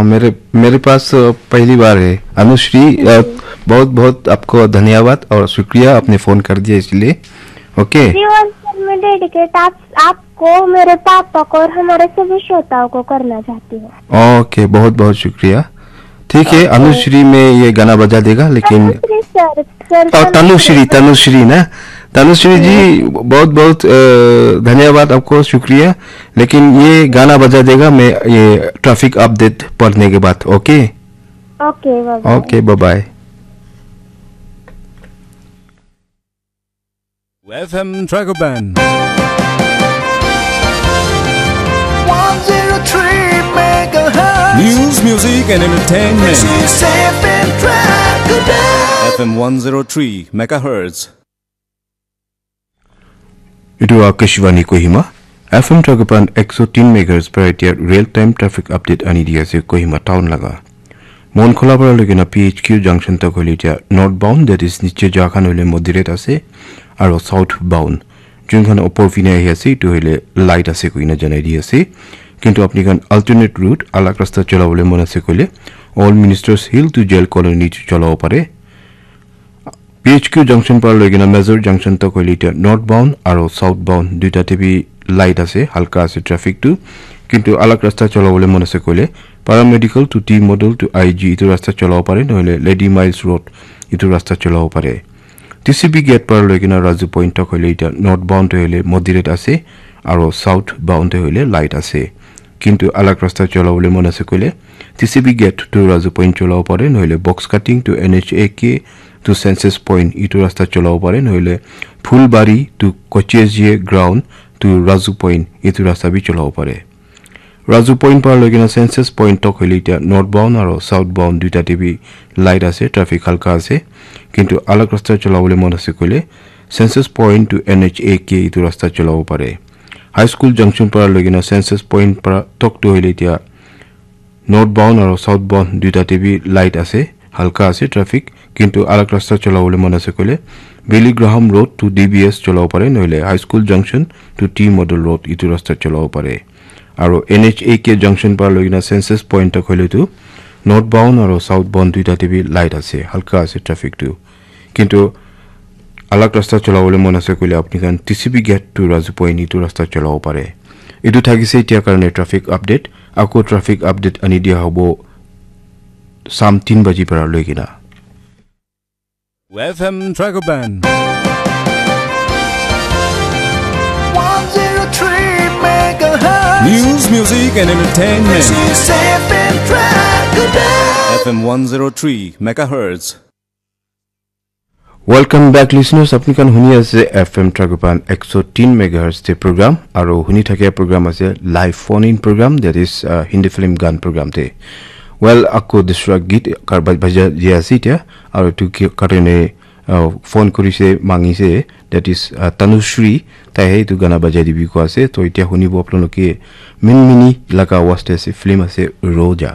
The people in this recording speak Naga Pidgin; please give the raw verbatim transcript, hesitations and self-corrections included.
मेरे मेरे पास अ, पहली बार है। अनुश्री, अ, बहुत बहुत आपको धन्यवाद और शुक्रिया, आपने फोन कर दिया इसलिए। ओके। जीवन सर, मैं डेडिकेट आप, आपको, मेरे पापा को और हमारे सभी श्रोताओं को करना चाहती हूँ। ओके, बहुत बहुत शुक्रिया। ठीक है, ओके। अनुश्री में ये गाना बजा देगा, लेकिन अनुश्री सर, सर और तनुश्री, तनुश्री ना, तनुश्री जी, बहुत बहुत अ, धन्यवाद आपको, शुक्रिया। लेकिन ये गाना बजा देगा, मैं ये ट्रैफिक अपडेट पढ़ने के बाद। Okay. Okay, bye bye. Okay, bye bye. F M Dragoban. One zero three megahertz. News, music and entertainment. This is F M Dragoban. F M one zero three megahertz. এইটো আকাশবাণী Kohima. F M ট্ৰাগোপান একশ তিন মেগাহাৰ্টজ পৰা এতিয়া real time traffic update আনি দি আছে কহিমা টাউন লাগা। মনখলা পৰা লৈকে না পি এইচ কিউ জাংচন তক হ'লে এতিয়া নৰ্থ বাউণ্ড, ডেট ইজ নিচে যোৱাখন হ'লে মডিৰেট আছে, আৰু চাউথ বাউণ্ড যোনখন ওপৰ পিনে আহি আছে এইটো হ'লে লাইট আছে কৈ কিনে জনাই দি আছে। কিন্তু আপুনি এখন অল্টাৰনেট ৰুট, আলাগ ৰাস্তা চলাবলৈ মন আছে ক'লে old ministers hill to jail colony চলাব পাৰে। পি এইচ কিউ জাংচন পৰা লৈ কিনে মেজৰ জাংচন তক হ'লে এতিয়া নৰ্থ বাউণ্ড আৰু চাউথ বাউণ্ড দুইটাতে বি লাইট আছে, হালকা আছে ট্ৰেফিকটো। কিন্তু আলাগ ৰাস্তা চলাবলৈ মন আছে ক'লে paramedical to T model to I G এইটো ৰাস্তা চলাব পাৰে, নহ'লে লেডি মাইলছ ৰোড এইটো ৰাস্তা চলাব পাৰে। টি চি বি গেট পৰা লৈ কিনে ৰাজু পইণ্ট তক হ'লে এতিয়া নৰ্থ বাউণ্ড হ'লে মডিৰেট আছে আৰু চাউথ বাউণ্ড হ'লে লাইট আছে। কিন্তু আলাগ ৰাস্তা চলাবলৈ মন আছে ক'লে T C B gate to Raju point চলাব পাৰে, নহ'লে box cutting to N H A K to চেন্সাছ পইণ্ট এইটো ৰাস্তা চলাব পাৰে, নহ'লে ফুলবাৰী টু কচিয়েজিয়ে গ্ৰাউণ্ড টু ৰাজু পইণ্ট এইটো ৰাস্তা বি চলাব পাৰে। ৰাজু পইণ্ট পৰা লৈ কিনে চেন্সাছ পইণ্ট তক হ'লে এতিয়া নৰ্থ বাউণ্ড আৰু চাউথ বাউণ্ড দুইটাতে বি লাইট আছে, ট্ৰেফিক হালকা আছে। কিন্তু আলাগ ৰাস্তা চলাবলৈ মন আছে ক'লে চেন্সাছ point to N H A K এইটো ৰাস্তা চলাব পাৰে। হাইস্কুল জাংচন পৰা লৈ কিনে চেন্সাছ পইণ্ট পৰা তকটো হ'লে এতিয়া নৰ্থ বাউণ্ড আৰু চাউথ বাউণ্ড দুইটাতে বি লাইট আছে, হালকা আছে ট্ৰেফিক। কিন্তু আলাগ ৰাস্তা চলাবলৈ মন আছে ক'লে Billy Graham road to D B S চলাব পাৰে, নহ'লে high school junction to T model road এইটো ৰাস্তাত চলাব পাৰে। আৰু N H A K junction পৰা লৈ কিনে চেন্সাছ পইণ্ট তক হ'লেতো নৰ্থ বাউণ্ড আৰু চাউথ বাউণ্ড দুইটাতে বি লাইট আছে, হালকা আছে ট্ৰেফিকটো। কিন্তু আলাগ ৰাস্তা চলাবলৈ মন আছে ক'লে আপুনি কাৰণ T C B gate to Raju point এইটো ৰাস্তাত চলাব পাৰে। এইটো থাকিছে এতিয়া কাৰণে ট্ৰেফিক আপডেট। আকৌ ট্ৰেফিক আপডেট আনি দিয়া হ'ব চাম তিন বাজি পৰা লৈ কিনা। F M Dragoban. One zero three megahertz. News, music and entertainment. This is F M Dragoban. F M one zero three megahertz. Welcome back, listeners. আপুনি কাণ শুনি আছে এফ এম ট্ৰাগোপান একশ তিন মেগাহাৰ্টজ তে প্ৰগ্ৰাম আৰু শুনি থাকে প্ৰগ্ৰাম আছে live phone in program, that is Hindi film গান প্ৰগ্ৰাম তে। ৱেল, আকৌ দুচৰা গীত কাৰ-, বা-, বাজা দিয়া আছে এতিয়া আৰু এইটো কি কাৰণে ফোন কৰিছে, মাঙিছে, ডেট ইজ তনুশ্ৰী, তাইহে এইটো গানা বাজাই দিবি কোৱা আছে। তো এতিয়া শুনিব আপোনালোকে মিনমিনি এলেকা আৱাজতে আছে, ফিল্ম আছে ৰজা।